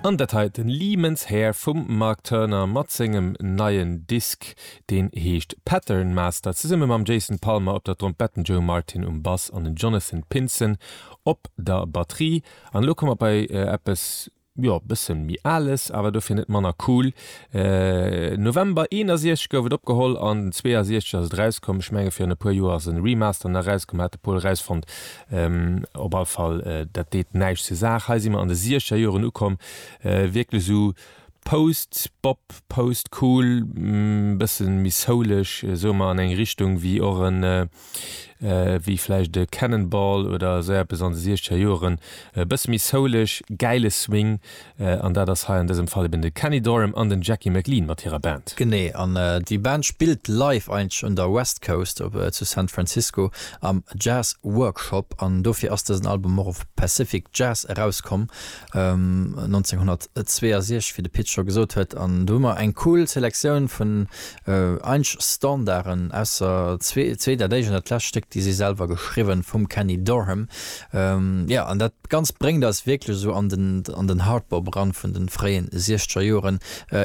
An dat hei, den Lehman's Hair vum Mark Turner mat sengem neien Disk, deen heescht Pattern Master, zesumme mam Jason Palmer op der Trompett, den Joe Martin um Bass an den Jonathan Pinson op der Batterie. An elo komme mer bei eppes, jo, bëssen méi Ales, awer dofir net manner cool. November 61 gouf et opgeholl an 62 ass et erauskomm. Ech menge virun e puer Joer ass en Remaster nach erauskomm, hat de Paul erausfonnt. Op all Fall, dat deet näischt zur Saach. Hei si mer an de siechzeger Joren ukomm, wierklech esou Post-Bop, Post-Cool, bëssen méi souleg, soe mer, an eng Richtung wéi och en, wéi vläicht e Cannonball oder esou eppes an de siechzeger Joren. E bësse méi souleg, gäile Swing, an dat ass hei an dësem Fall eben de Kenny Dorham an den Jackie McLean mat hirer Band. Genee, an déi Band spillt live eigentlech un der West Coast op zu San Francisco am Jazz Workshop an dofir ass dësen Album och op Pacific Jazz erauskomm 1962, wéi de Pit scho gesot huet. An do hu mer eng cool Selektioun vun eigentlech Standarden, ausser zwee, dat éischt an dat lescht Stéck, déi si selwer geschriwwen vum Kenny Dorham. Jo, an dat Ganzt bréngt eis wierklech esou an den an den Hardbop eran vun den fréien siechzeger Joren.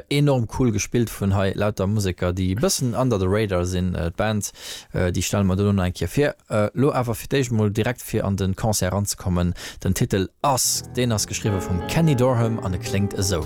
Enorm cool gespillt vun hei lauter Museker déi e bëssen under the radar sinn. D'Band déi stelle mer dono nach eng Kéier vir. Lo awer fir d'éischt mol direkt fir an den Concert eranzekommen, den Titel Us, deen ass geschriwwe vum Kenny Dorham an e kléngt esou.